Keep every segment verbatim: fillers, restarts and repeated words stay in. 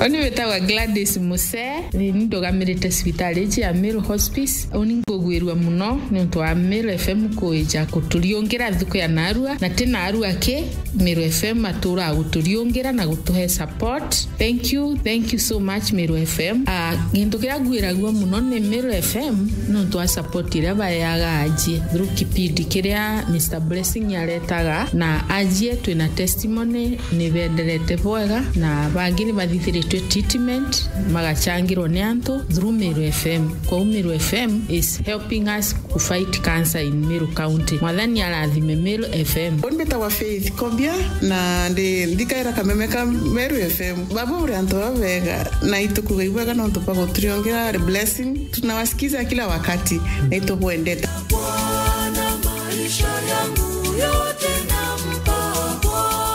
Uni witagwa Gladys Muse, ni ndugamirite cibitari iji ya Meru Hospice. Uni nkugwirua muno niuntu wa Meru F M kuija kuturiungira nthuku ya narua, na ti narua ki, Meru F M atura guturiungira na gutuhe support. Thank you, thank you so much, Meru F M. Ah, gintu kiria ngwiragua muno ni Meru F M niuntu wa support iria baeaga ajie through kipindi kiria Mister Blessing aretaga, na ajie twina testimony ni benderete bwega, na bangi ni bathithiritwe treatment, magachangirwa ni antu through Meru F M. Kwou Meru F M is helping us to fight cancer in Meru County. Mwathani arathime Meru F M. Uni mbitagwa Faith Kobia, na ndi nthikaira kameme ka Meru F M. Baba uri antu babega, na itukuga ibwega nontu bwa guturiongera blessing. Tunawasikiza kila wakati, na itubwendete. Bwana, maisha yangu yote nampa Bwana.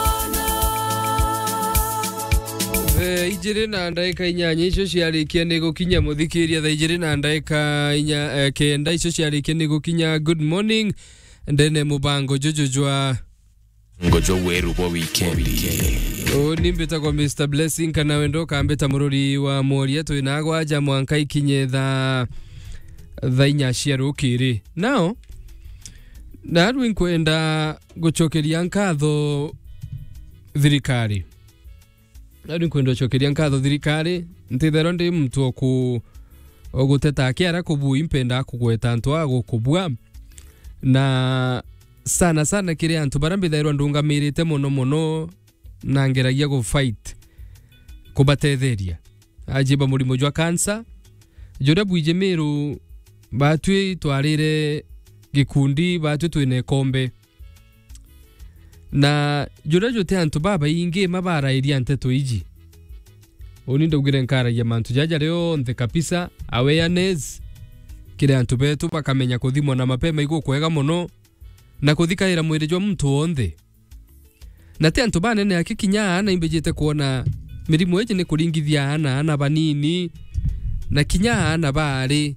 Thaa ijiri na ndaika inyanya icio ciarikia ni gukinya, muthikiria, thaa ijiri na ndaika inya, eh, kenda icio ciarikia ni gukinya. Good morning. Ndene mubango juju jwa Ngojo weru bwa wikendi. Uni mbitagwa Mister Blessing, kana wenda ukambita mururi wa mworia, twina gwaja mwanka ikinye thaa, thaa inya cia rukiri. Now, narua nkwenda gucokeria nkatho thirikari. Narua nkwenda gucokeria nkatho thirikari. Ntithairwa ndi muntu o ku-, o guteta akiara kubui, mpenda kugweta antu a gukubua. Na sana sana kiri antu baria mbithairwa ndungamirite mono mono, na ngeragia gu fight kubatetheria. Ajiba murimo jwa cancer, juria bwiji Meru, batwi twarire gikundi, batwi twina ikombe. Na juria juti antu babaingi ma barairia nteto iji. Uni ndaugire nkaragia mantu jaja rionthe kabisa, awareness, kiri antu betu bakamenya kuthimwa na mapema igukwega mono, na kuthikaira mwiri jwa muntu wonthe. Na ti antu banene aki, kinya aana imbijite kwona mirimo iji ni kuringithia aana, aana banini, na kinya aana baari.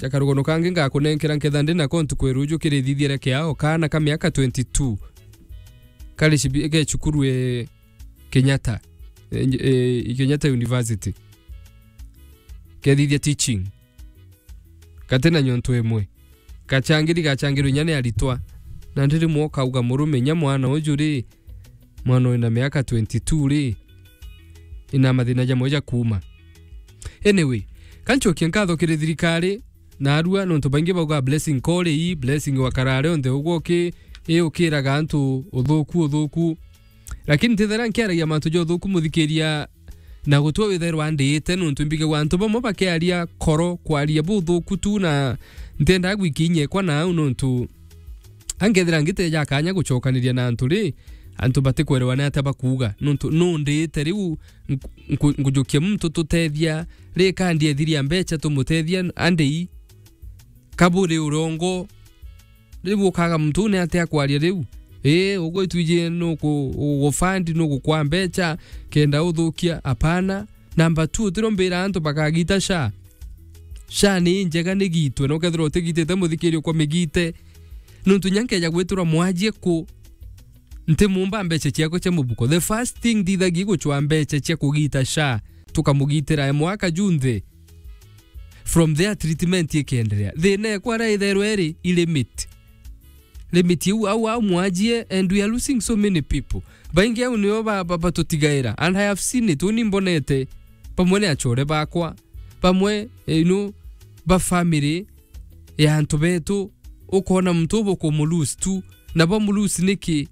Ja karugano kangi ngakunenkera nketha ndi nako ntuku ya ruju kiri thithiere kiao, kaana ka miaka twenty-two. Kari cibi-, ke cukuru e Kenyatta, e, e, Kenyatta University. Kethithia teaching. Kati na nyontu imwe. Kachangiri, gachangirwe inya ni aritwa. Na ndiri mwo kauga murume inya mwana uju ri, mwana wina miaka twenty-two ri, ina mathina jamwe ja kuuma. Anyway, kanchokie nkatho kiri thirikari, narua nontu baingi bauga blessing kori ii, blessing wakarare onthe ugwo ki, ii ukiraga antu uthuku, uthuku. Lakini ntithera nkiaragia mantu ja uthuku, muthikiria, na gutwe withairwa ndiite, nontu mbigagua antu bamwe bakiaria koro, kwaria buthuku tu, na ntiendaa gwikinya ekwa na au, nontu angethira ngiteja kanya gucokaniria na antu ri, antu batikwerewa ni atia bakuuga, nontu nu ndiite riu nku-, nku-, nkujukia muntu tutethia, ri kandi ethiria mbecha tumutethia andei, kaburi urongo. Riu ukaga muntu ni atia kwaria riu? Ii, ugwitwiji nuku-, ugufund, nugukwa mbecha kenda uthukia? Apana. Number two, utiro mbira antu bakagita SHA. SHA ni njega, nigitwe, na ukethirwa utigitite, muthikiria, ukwa migite. Nontu nya nkeja gwitirwa mwajie ku, ntimumba mbecha ciakwa cia mubuko. The first thing ndithagia gucwa mbecha cia kugita SHA, tukamugitira e mwaka junthe. From there, treatment ikiendelea. Thina ekwa ara itherwe iri i limit. Limit iu au, au mwajie, and we are losing so many people. Baingi au nio ba, ba, batutigaira. And I have seen it, uni mbonete. Bamwe ni achore bakwa. Bamwe, eh, you know, ba family ya antu betu. Ukona muntu ubu kumulose tu. Na bamulose niki?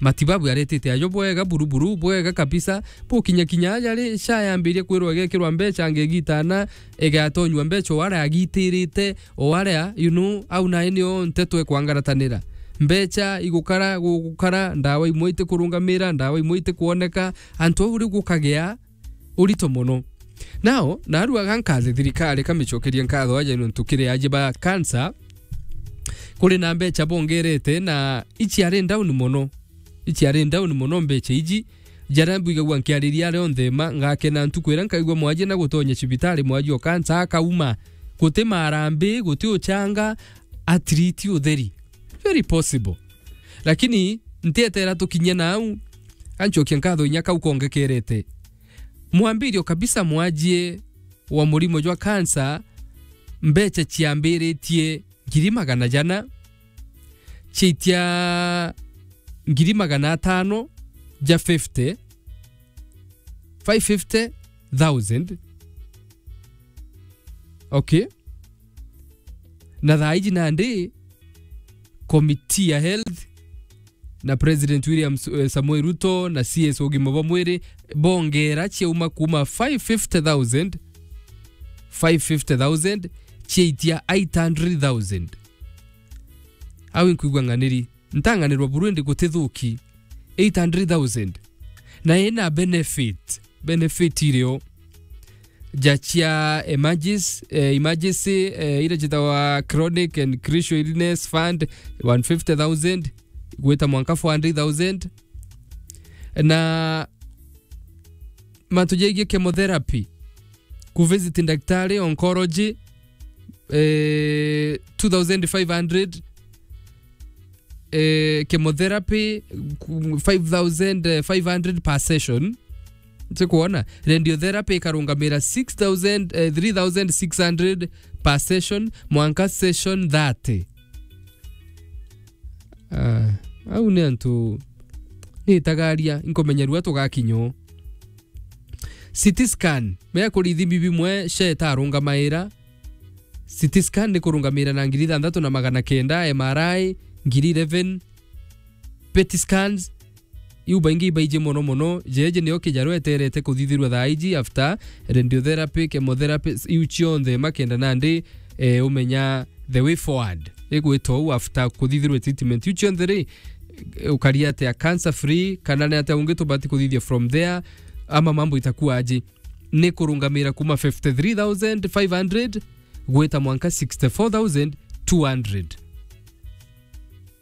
Matibabu aretete ajo bwega, buruburu, bwega kabisa. Bukinya kinya aja ri, SHA yambirie kwirwa igekirwa mbecha, angegitana, igatonywa mbecha o aria agitirite, o aria, you know, au nae nio nteto ikwangaratanira. Mbecha igukara, gugukara, ndawa imwe itikurungamira, ndawa imwe itikwoneka, antu au riu gukagia urito mono. Now, narua ga nkathe thirikari, kamicokerie nkatho aja nontu kiri aji ba cancer, kuri na mbecha bongerete na iciari down mono. Iciari down mono mbecha iji. Jaria mbwigagua nkiariria aria onthe ma, ngakena ntuku iria nkaigua mwaji na gutonya cibitari, mwaji o cancer akauma. Guti marambi, guti uchanga, at least utheri. Very possible. Lakini ntietera tukinye nau, anchokia nkatho inya kau kongekerete. Mwambirio kabisa mwajie wa murimo jwa cancer, mbecha ciambiritie ngiri magana jana, ciaitia ngiri magana atano ja fifty, five fifty thousand. Okay. Na thaa iji nandi committee ya health na President William S-, eh, Samoei Ruto na C S ugima bwa mwiri bongera ciauma kuma five fifty thousand, five fifty thousand, ciaitia eight hundred thousand. Au inkwigua ng'aniri, ntang'anirwa buru indi gutithuki. Eight hundred thousand. Na ina benefit, benefit irio ja cia emergency, eh, emergency, eh, ira jitawa chronic and crucial illness fund, one fifty thousand, gwita mwanka four hundred thousand. Na mantu jegie chemotherapy, ku visit daktari, oncology, eh, two thousand five hundred, eh, chemotherapy, ku-, five thousand five hundred per session. Tikuona? Radiotherapy ikarungamira six thousand, eh, three thousand six hundred per session, mwanka session thirty. Ah, au ni antu ni itagaria, inkumenya rua tugakinywo. C T scan, mea kuri ithimi bimwe, SHA itarungamaira. C T scan ni kurungamira na ngiri ithanthatu na magana kenda, M R I, ngiri eleven, PET scans, iu baingi ibaiji mono mono. Jeje nio kijaru eterete kuthithirwa thaa iji after radiotherapy, chemotherapy, iu cionthe makenda nandi, eh, umenya the way forward. Igwitwa uu after kuthithirwa treatment iu cionthe ri, eh, ukaria atia cancer free, kana ni atia ungi tubati kuthithia from there, ama mambo itakuwa aje? Ni kurungamira kuma fifty three thousand five hundred gwita mwanka sixty four thousand two hundred.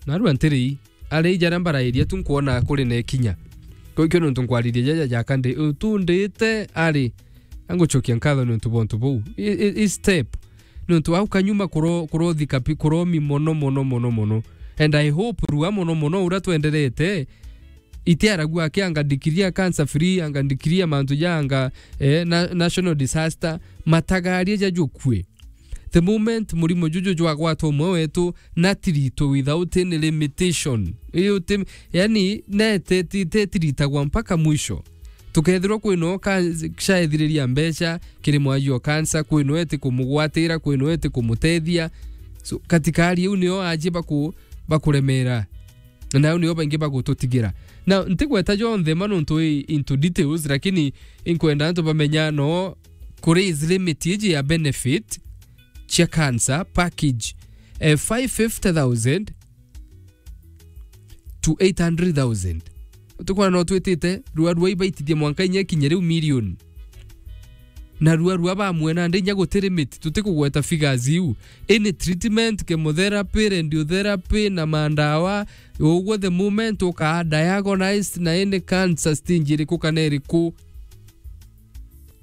Narua ntiri ii, ari jaria mbarairia tu nkwona kuri na ikinya. Kau ikio nontu nkwariria jaja jaka ndi, utundite ari, angucokia nkatho nontu bwa untu buu. I, i, i step. Nontu au kanyuma kuro-, kurothika pi-, kuromi mono, mono, mono, mono. And I hope rua mono, mono, uria twenderete, itiaragua aki anga declare cancer free, anga declare mantu ja anga, eh, na-, national disaster, matagaria jajukue. The moment murimo juju jwagwata umwe wetu, na tirito without any limitation. Iyo ti-, yani, nete ti-, tetiritagwa mpaka mwisho. Tukethirwa kwino ka-, SHA ethiriria mbeca kiri mwajio cancer, kwino eti kumugwatira, kwino eti kumutethia. So, katikari iu nio aji baku-, bakuremera. Na au nio baingi bagututigira. Na ntigweta jonthe ma nontu i into details, lakini inkwenda antu bamenya no kuri age limit iji ya benefit cia cancer package, eh, five fifty thousand to eight hundred thousand. Tukwona no twitite, rua rua ibaitithia mwanka inya ikinye riu million. Na rua rua bamwe nandi inya guti limit, tutikugweta figures iu. Any treatment, chemotherapy, radiotherapy, na mandawa, uguo the moment ukaa diagnosed na any cancer stage iriku kana iriku,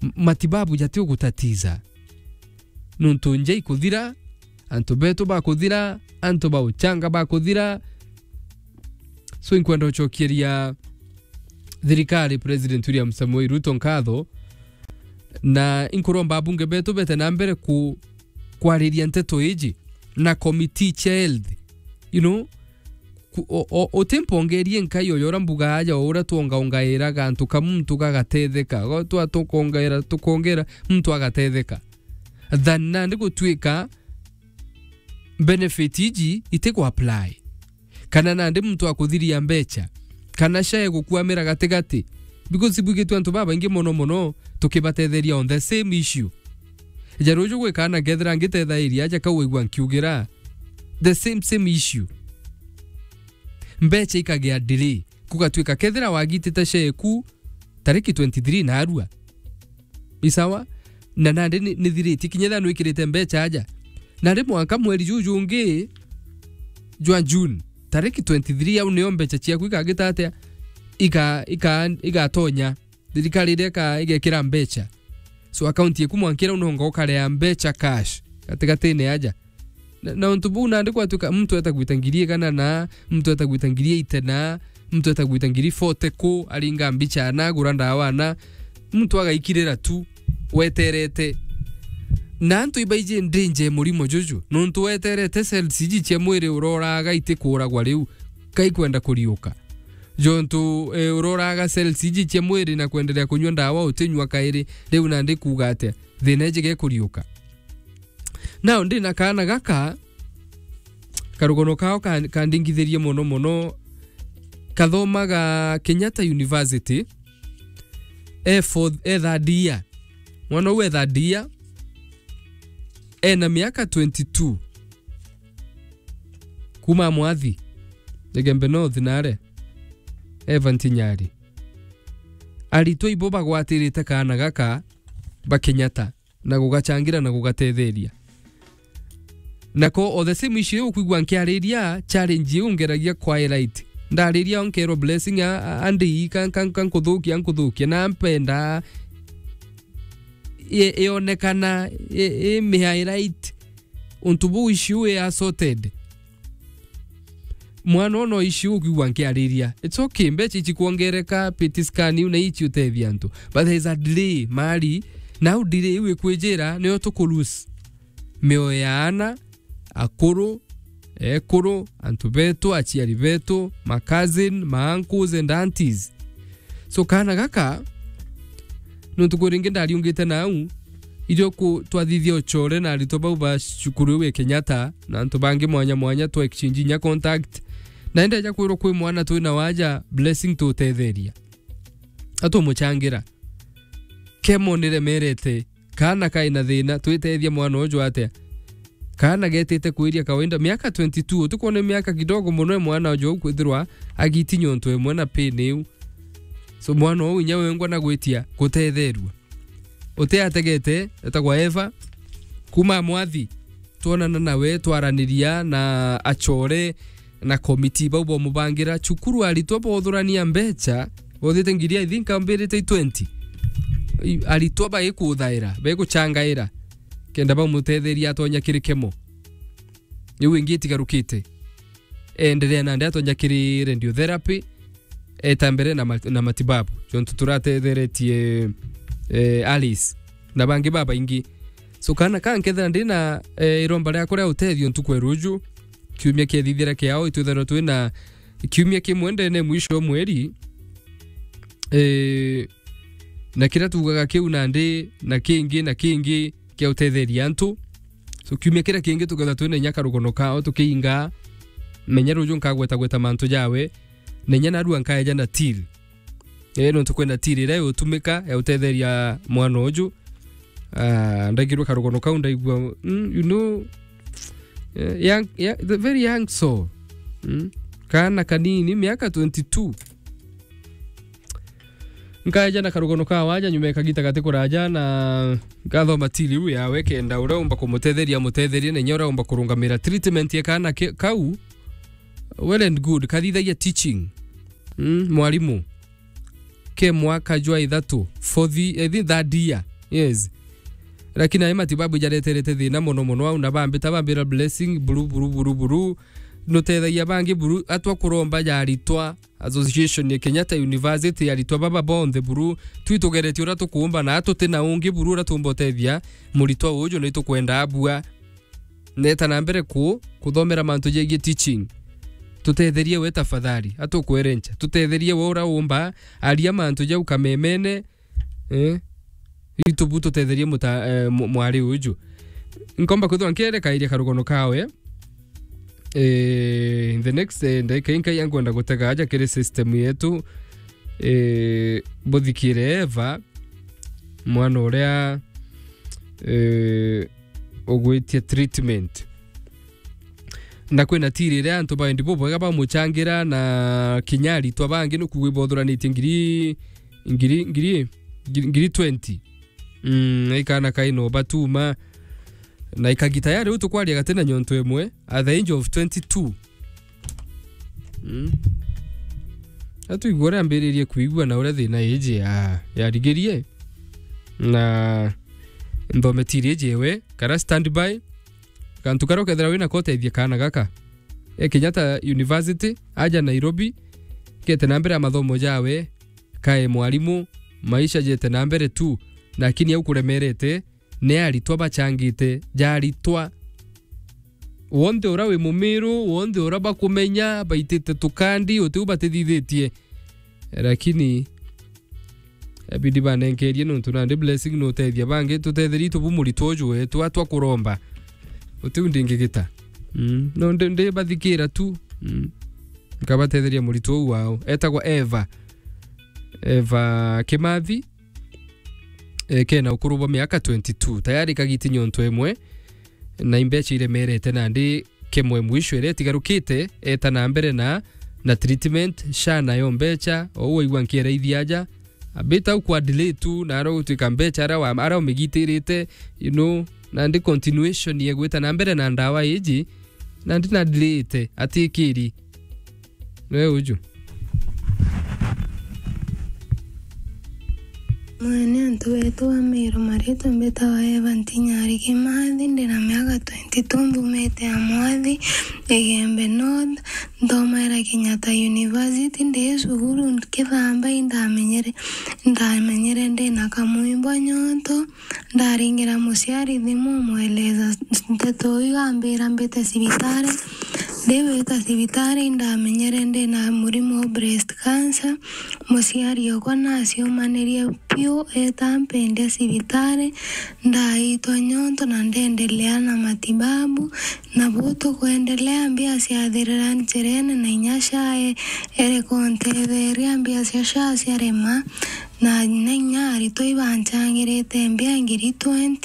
m-, matibabu jati ugutatiza. Nontu nja ikuthira, antu betu bakuthira, antu ba uchanga bakuthira. So, inkwenda ucokeria thirikari, President William Samoei Ruto, nkatho, na inkuromba abunge betu bete na mbere ku-, kwariria nteto iji na committee cia health, you know, ku-, o-, o-, utimpongerie nkai oyo uria mbuga aja, o uria twongaongairaga antu ka muntu gagatetheka, go-, twa-, tukongaira, tukongera muntu agatetheka, than nandi gutwika benefit iji itiku apply. Kana nandi muntu akuthiria mbecha, kana SHA egukwamira gatigati, because ibwigitwe antu babaingi mono mono tukibatetheria on the same issue. Ja ruju gwi kana ngethira ngitethairia aja kau waigua nkiugira the same, same issue. Mbecha ikagia delay, kugatwika kethira wagitite SHA eku tariki twenty-three narua. Isawa? Na nandi ni, nithiritie kinya ethira nwikirite mbecha aja. Nandi mwanka mweri juju ungi jwa June, tariki twenty-three, au nio mbecha ciaku ikagita atia? Ika-, ika-, igatonya. Thirikari iria ika-, igekira mbecha. So, account yeku mwankira unonga ukarea mbecha cash gatigatine aja. Na, na untu buu nandi gwatuika muntu eta gwita ngiri igana na, muntu eta gwita ngiri eighty na, muntu eta gwita ngiri forty ku, aringa mbicha na, agura ndawa na. muntu agaikirira tu weterete. Na antu ibaiji ndinje murimo juju, nontu weterete cells iji cia mwiri uroraga itikuuragwa riu, kaikwenda kuriuka. Jontu, eh, uroraga cells iji cia mwiri na kwenderea kunyua ndawa utinyua kairi, riu nandi kuuga atia? Thina iji gekuriuka. Now, ndina kaana gaka, karugono kao ka-, kandingithirie mono mono, kathomaga Kenyatta University, e fourth, e third year. Mwana uu e third year, ena miaka twenty-two. Kuma Mwathi, Igembe North nare, Evan Tinyari. Aritwa ibo bagwatirite kaana gaka ba Kenyatta na gugachangira na gugatetheria. Nako o the same issue iu ukwigua nkiariria challenge iu ngeragia kwa highlight. Ndariria o nkerwa Blessing a, a, andii, ka, ka, ka nkuthukia, nkuthukia, na mpenda i-, ionekana i, i mi highlight. Untu buu issue i assorted. Mwana ono ici ukwigua nkiariria. It's okay, mbecha ici kuongereka, P T scan iu na ici utethia antu. But there is a delay, mari. Nau delay iu ikwijira, niyo tukulose mioyo ya ana, akuru, ekuru, antu betu, aciari betu, ma cousin, ma uncles and aunties. So kaana gaka, nontu kwi ringi ndariungite nau, irio ku-, twathithia uchore na aritwa bau ba cukuru iu ya Kenyatta, na antu bangi mwanya mwanya, twa exchange inya contact. Na ndeja kwirwa kwi mwana twina waja, Blessing tutetheria. Atumuchangira. Kemo niremerete. Kaana kai na thina, twitethia mwana uju atia? Kaana getite kwiria kawaida, miaka twenty-two, utikwona miaka kidogo mono e mwana uju au kwithirwa agitinya untu imwe na pain iu. So mwana uu inya wengwa na gwitia gutetherua. Uti ategete, etagwa Eva, kuma Mwathi, twonana nawe, twaraniria na achore na komiti bau bomubangira cukuru, aritwa bothurania mbecha, bothite ngiri, I think, ambirite i twenty. I-, aritwa baikuthaira, baiguchangaira, kenda bamutetheria atonya kiri kemo. Riu ingi itigarukite. Enderea nandi atonya kiri radiotherapy, eta mbere na mat-, na matibabu. Jontu turatetheretie, eh, Alice. Na bangi babaingi. So, kaana ka nkethira ndina, eh, iromba riakwa ria utethio ntuku ya ruju, kiumia kiethithira kiao, itwithirwa twina kiumia kimwe ndene mwisho wa mweri, eh, na kiria tuugaga kiu nandi, na kingi, na kingi kia utetheria antu. So, kiumia kiria kingi tukethirwa twina inya karugono kao tukiinga, menya ruju nkagweta gweta mantu jawe, na inya narua nkaeja na till. Eh, nontu kwina till iria igutumika ya utetheria mwana uju. Ah, ndaigirwe karugono kau ndaigua, mm, you know, eh, young, yeah, the very young soul. Mm. Kaana kanini, miaka twenty-two. Nkaeja na karugono ka waja nyuma ya kagita gati kuraja na ngathoma till iu yawe kenda uria umba kumutetheria amutetherie na inya uria umba kurungamira treatment ya kaana ke-, kau. Well and good, kathithagia teaching. Mm, mwarimu. Ke mwaka jwa ithatu, fourth, eh, thi-, third year. Yes. Lakini ayo matibabu jareterete thina mono mono au na bambita bambira Blessing, buru, buru, buru, buru. Nutethagia bangi buru, atwa kuromba ja aritwa, association ya Kenyatta University, aritwa baba bonthe buru. Twitugeretie uria tukuumba na tuti na ungi buru uria tuumba utethia muritwa uju, na itukwenda abua. Neta na mbere ku, kuthomera mantu jegie teaching. Tutetherie we tafadhali, atukwerencha. Tutetherie we ura umba, aria mantu jau kamemene, eh? Itu bu tutetherie muta-, eh, mu-, mwari uju. Nkomba kwithirwa nkierekairia karugono kawe. Eh, in the next, eh, ndagika inkai ankwenda gutega aja kiri system yetu. Eh, buthikire Eva, mwana uria, eh, ugwitia treatment. Na kwina till iria antu ba wendi bubwega bamuchangira na kinya aritwa bangi nukuigua ibothuranitie ngiri, ngiri, ngiri, ngiri, ngiri twenty. Mm, na ikana kaina ubatuma. Na ikagita ya riu tukwaria gati na nyonto imwe at the age of twenty-two. Mm. Atuigua uria ambiririe kuigua na uria thina iji ya, yarigirie. Na nthome till iji iwe, kara standby. Kantu karia ukethira wina ko utethie kaana gaka. E Kenyatta University, aja Nairobi, kete na mbere ya mathomo jawe, kae mwarimu, maisha jete na mbere tu, lakini au kuremerete, ni aritwa bachangite, ja aritwa. Wonthe ura wi Mumiru, wonthe ura bakumenya, baitite tukandi, utiu batithithitie. Lakini, ebidi banenkerie nontu nandi blessing nutethia bangi, tutetherie tubu muritwa uju wetu, atwa kuromba. Utiu ndingigita. Mm. No ndi, ndi bathikira tu. Mm. Nkabatetheria muritwa uu wao. Etagwa Eva. Eva Kimathi. E, kena ukuru bwa miaka twenty-two. Tayari kagiti nyonto imwe. Na imbecha iremerete nandi kemwe mwisho iria itigarukite, eta na mbere na, na treatment, SHA nayo mbecha, ou waigua nkiera ithi aja, abita au kwa delay tu, na ara gutwika mbecha ara wa, ara umigitirite, you know, nandi continuation ya gwita na mbere na ndawa iji, nandi na delay ite, atikiri. Niwe uju. Mwene antu betu wa Meru, maritwa mbitawa Eva Ntinyari Kimathi, ndina miaka twenty-two, mbumite Amwathi, Igembe North, nthomaira Kenyatta University, ndi cukuru nkithamba, indamenyere, indamenyere ndina kamwimbo nyonto, ndaringira muciari thimu, mweleza nteto iu, ambira mbite cibitari, ndi gwita cibitari, indamenyere ndina murimo wa breast cancer, Muciari okwa naciumanirie piu, eta mpendia cibitari, ndaitwa nyonto na ndendelea na matibabu, na bu tukwendelea, mbia ciathirira njirene, na inya SHA e-, ereka untetheria, mbia cia SHA ciarema, na, na inya aritwa ibanchangirite mbia ngiri twenty.